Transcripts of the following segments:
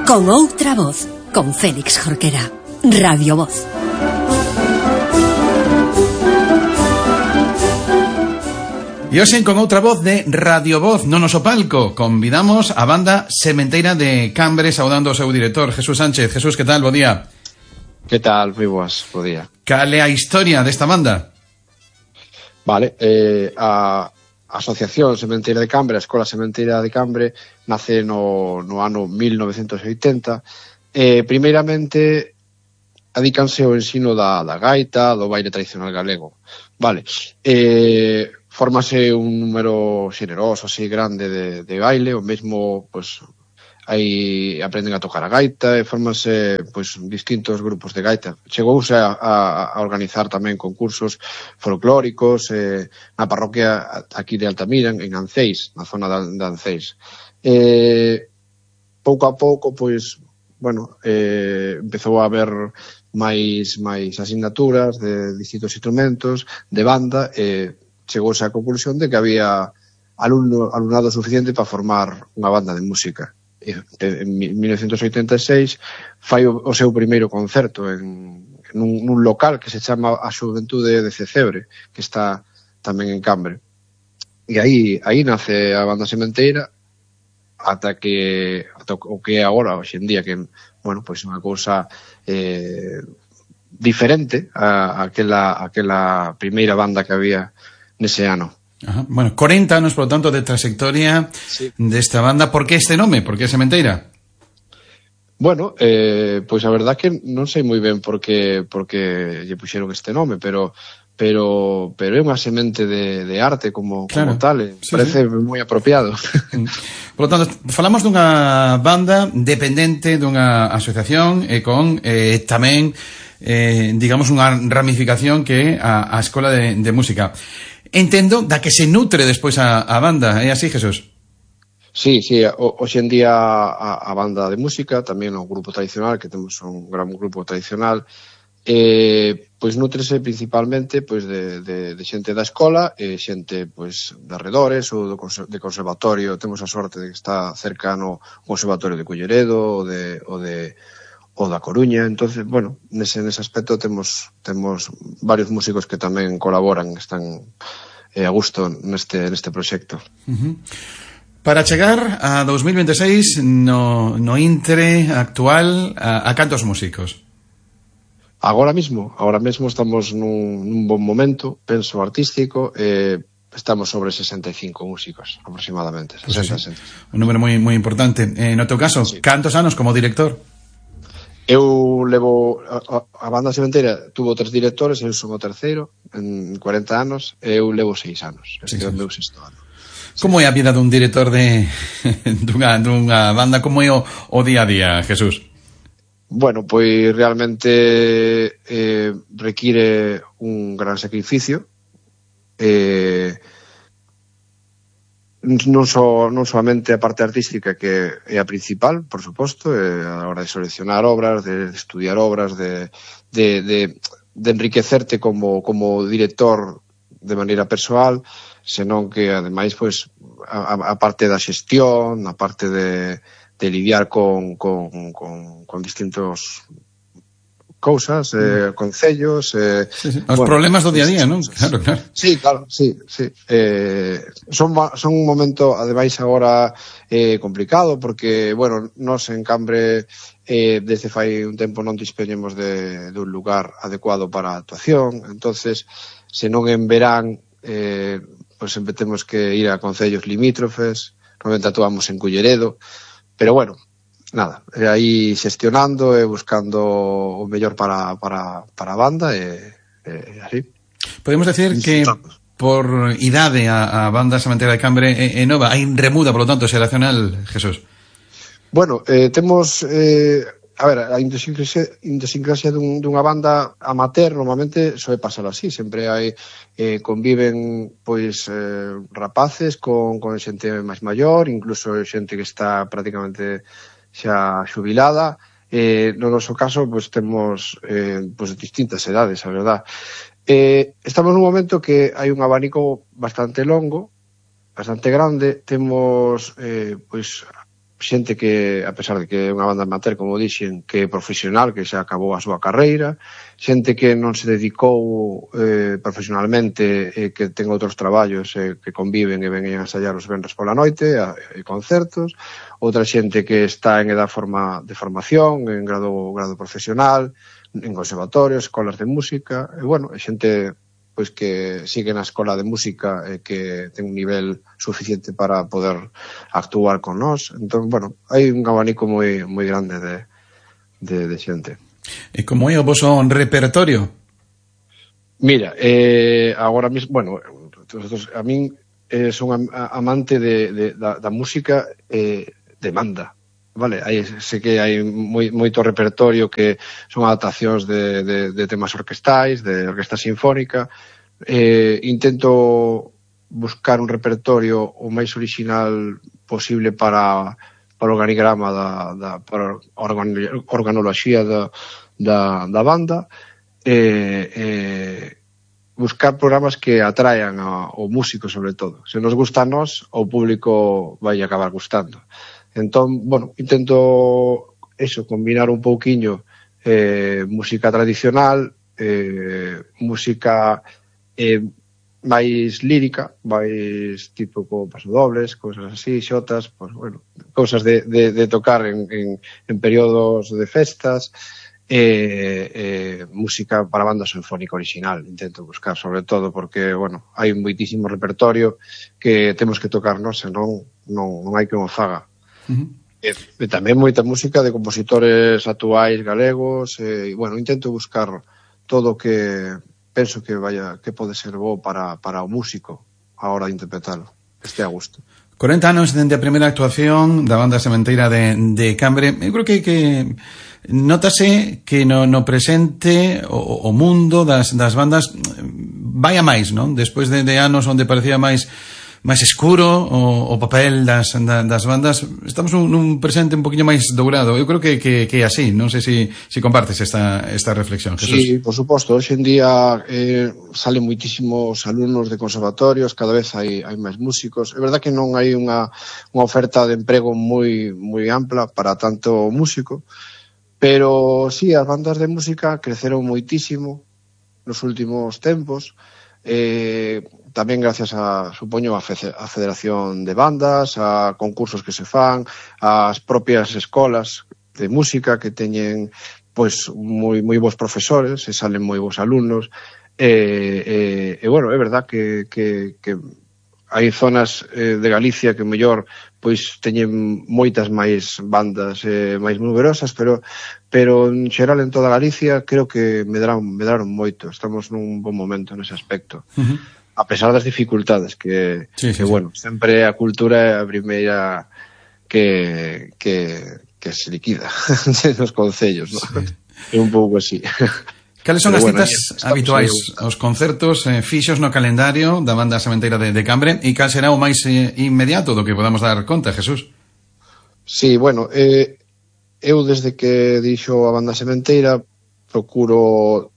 Con outra voz, con Félix Jorquera. Radio Voz. E hoxe con outra voz de Radio Voz no noso palco convidamos a banda Sementeira de Cambre, saudando ao seu director Jesús Sánchez. Jesús, que tal? Bo día. Que tal? Moi boas, bo día. Cal é a historia desta banda? Vale, a Asociación Sementeira de Cambre, a Escola Sementeira de Cambre, nace no ano 1980. Primeiramente, adícanse ao ensino da gaita, do baile tradicional galego. Vale, fórmase un número xeneroso, así grande de baile, o mesmo, pois, aí aprenden a tocar a gaita e fórmase, pois, distintos grupos de gaita. Chegouse a organizar tamén concursos folclóricos na parroquia aquí de Altamira, en Anceis, na zona de Anceis. Pouco a pouco, pois, bueno, empezou a haber máis asignaturas de distintos instrumentos, de banda, chegouse á conclusión de que había alumnado suficiente para formar unha banda de música. En 1986 fai o seu primeiro concerto nun local que se chama a Xuventude de Cecebre, que está tamén en Cambre. E aí nace a banda Sementeira ata o que é agora, hoxe en día, que, bueno, pois unha cousa diferente a aquela primeira banda que había nese ano. Ajá. Bueno, 40 anos, por lo tanto, de trayectoria, sí, desta banda. Por que este nome? Por que Sementeira? Bueno, pois a verdad que non sei moi ben por que lle puxeron este nome, pero é unha semente de arte como tal, sí, parece moi apropiado. Por lo tanto, falamos dunha banda dependente dunha asociación e con tamén, digamos, unha ramificación que é a Escola de Música. Entendo da que se nutre despois a banda, é así, Jesús? Sí, hoxe en día a banda de música, tamén o grupo tradicional, que temos un gran grupo tradicional, pois nutrese principalmente pois de xente da escola e xente pois de arredores ou de conservatorio. Temos a sorte de que está cercano o Conservatorio de Culleredo ou da Coruña. Entonces, bueno, nese aspecto temos varios músicos que tamén colaboran, están a gusto neste proxecto. Para chegar a 2026 no intre actual, a cantos músicos? Agora mesmo estamos nun bon momento, penso, artístico, estamos sobre 65 músicos aproximadamente, 60. Un número moi importante. No teu caso, sí, cantos anos como director? Eu levo a banda Sementeira tuvo 3 directores, eu son o terceiro en 40 anos, eu levo 6 anos, este é o meu 6º ano. Como é a vida dun director dunha banda? Como é o día a día, Jesús? Bueno, pois realmente require un gran sacrificio, non solamente a parte artística, que é a principal, por suposto, a hora de seleccionar obras, de estudiar obras, de enriquecerte como director de maneira persoal, senón que ademais pois a parte da xestión, a parte de lidiar con distintos cousas, concellos, sí. Os problemas do día a día, non? Claro. Sí, claro, sí. Son un momento, ademais, agora complicado, porque, bueno, nós en Cambre desde fai un tempo non dispoñemos de un lugar adecuado para a actuación, entonces, se non en verán, pois sempre temos que ir a concellos limítrofes, normalmente actuamos en Culleredo, pero bueno, nada, aí xestionando e buscando o mellor para a banda e así. Podemos decir que por idade a banda Sementeira de Cambre é nova, hai remuda, por lo tanto, xeracional, Jesús? Bueno, temos a ver, a idiosincrasia dunha banda amateur normalmente soe pasar así, sempre hai conviven pois rapaces con xente máis maior, incluso xente que está prácticamente xa xubilada. No noso caso, pois temos pois distintas edades, a verdad. Estamos nun momento que hai un abanico bastante longo, bastante grande. Temos pois xente que, a pesar de que é unha banda amateur, como dixen, que é profesional, que xa acabou a súa carreira, xente que non se dedicou profesionalmente, que ten outros traballos que conviven e ven a ensayar os venres pola noite, e concertos, outra xente que está en edad de formación, en grado profesional, en conservatorios, escolas de música, e bueno, xente pois que sigue na escola de música e que ten un nivel suficiente para poder actuar con nós. Entón, bueno, hai un abanico moi grande de xente. E como é o voso repertorio? Mira, agora mesmo, bueno, a min son amante da música de banda. Vale, sei que hai moito repertorio que son adaptacións de temas orquestais, de orquesta sinfónica. Intento buscar un repertorio o máis original posible para o organigrama para a organoloxía da banda, buscar programas que atraian ao músico, sobre todo. Se nos gusta a nós, ao público vai acabar gustando. Entón, bueno, intento combinar un pouquiño música tradicional, música máis lírica, máis tipo con pasodobles, cousas así, xotas, pues, bueno, cousas de tocar en períodos de festas, música para banda sinfónica original, intento buscar, sobre todo, porque, bueno, hai un moitísimo repertorio que temos que tocarnos, senón non hai que o faga. E tamén moita música de compositores actuais galegos, bueno, intento buscar todo o que penso que pode ser bo para o músico a hora de interpretalo, que este a gusto. 40 anos dende a primeira actuación da banda sementeira de Cambre. Eu creo que notase que no presente o mundo das bandas vai a máis, non? Despois de anos onde parecía máis escuro o papel das bandas, estamos nun presente un poquinho máis dourado. Eu creo que é así. Non sei se compartes esta reflexión, Jesús. Sí, por suposto. Hoxe en día salen moitísimos alumnos de conservatorios, cada vez hai máis músicos. É verdad que non hai unha oferta de emprego moi ampla para tanto músico, pero sí, as bandas de música creceron moitísimo nos últimos tempos, tamén gracias supoño, a Federación de Bandas, a concursos que se fan, as propias escolas de música que teñen pois moi bons profesores e salen moi bons alumnos, e bueno, é verdad que hai zonas de Galicia que mellor pois teñen moitas máis bandas máis numerosas, pero en xeral en toda Galicia creo que medraron moito. Estamos nun bon momento nese aspecto. A pesar das dificultades que bueno, sempre a cultura é a primeira que se liquida nos concellos, ¿no? É un pouco así. Cales son as citas habituais aos concertos fixos no calendario da banda sementeira de Cambre, e cal será o máis inmediato do que podamos dar conta, Jesús? Sí, bueno, eu desde que dixo a banda sementeira procuro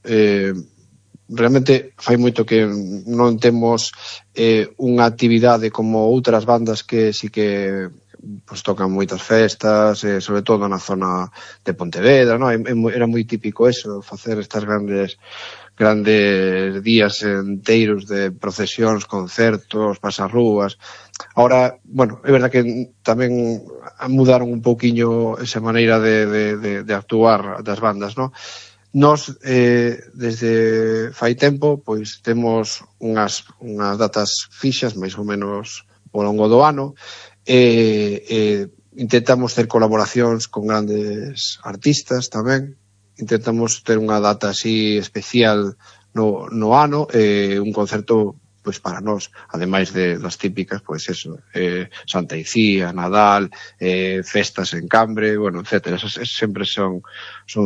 realmente fai moito que non temos unha actividade como outras bandas que sí que pues, tocan moitas festas, sobre todo na zona de Pontevedra, ¿no? Era moi típico eso, facer estas grandes días enteiros de procesións, concertos, pasarrúas. Ahora, bueno, é verdad que tamén mudaron un pouquiño esa maneira de actuar das bandas, ¿no? Nos, desde fai tempo, pois temos unhas datas fixas, máis ou menos ao longo do ano, intentamos ter colaboracións con grandes artistas tamén, intentamos ter unha data así especial no ano, un concerto pois para nós, ademais das típicas, pois eso, Santa Icía, Nadal, festas en Cambre, bueno, etcétera, esas sempre son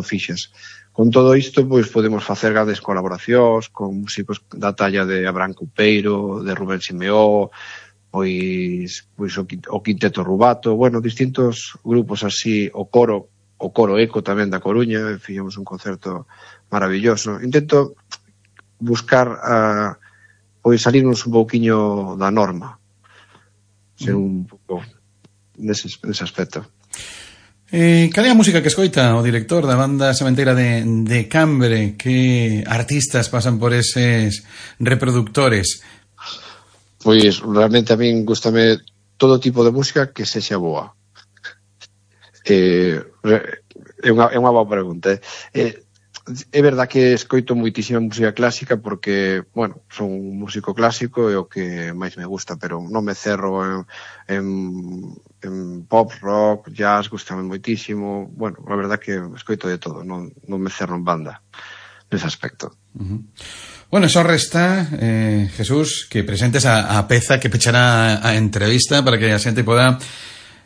fixas. Con todo isto, pois podemos facer grandes colaboracións con músicos da talla de Abraham Coupeiro, de Rubén Simeó, pois o Quinteto Rubato, bueno, distintos grupos así, o Coro Eco tamén da Coruña, fixemos un concerto maravilloso. Intento buscar pois salirnos un pouquiño da norma, ser un pouco nese aspecto. Cal é a música que escoita o director da banda sementeira de Cambre? Que artistas pasan por eses reproductores? Pois realmente a min gustame todo tipo de música que sexa boa. É unha boa pregunta. É verdad que escoito moitísima música clásica porque, bueno, son un músico clásico e o que máis me gusta, pero non me cerro en pop, rock, jazz, gustame moitísimo. Bueno, a verdad que escoito de todo, non me cerro en banda nese aspecto. Bueno, só resta, Jesús, que presentes a peza que pechará a entrevista para que a xente poda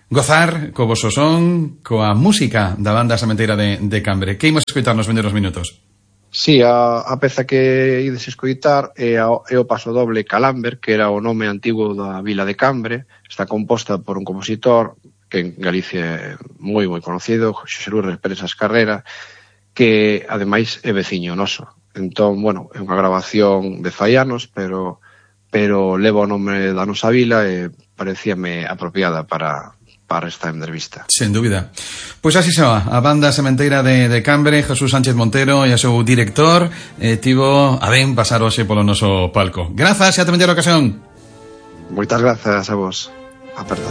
gozar co voso son, coa música da banda sementeira de Cambre. Que imos escoitar nos vendeiros minutos? Sí, a peza que ides escoitar é o paso doble Calamber, que era o nome antigo da vila de Cambre. Está composta por un compositor que en Galicia é moi conocido, Xosé Lourdes Pérez Carrera, que ademais é veciño noso. Entón, bueno, é unha grabación de fai anos, pero leva o nome da nosa vila e parecíame apropiada para esta entrevista. Sen dúbida. Pois así se va, a banda sementeira de Cambre, Jesús Sánchez Montero e o seu director tivo a ben pasar hoxe polo noso palco. Grazas e ata a ocasión. Moitas grazas a vos. A perdón.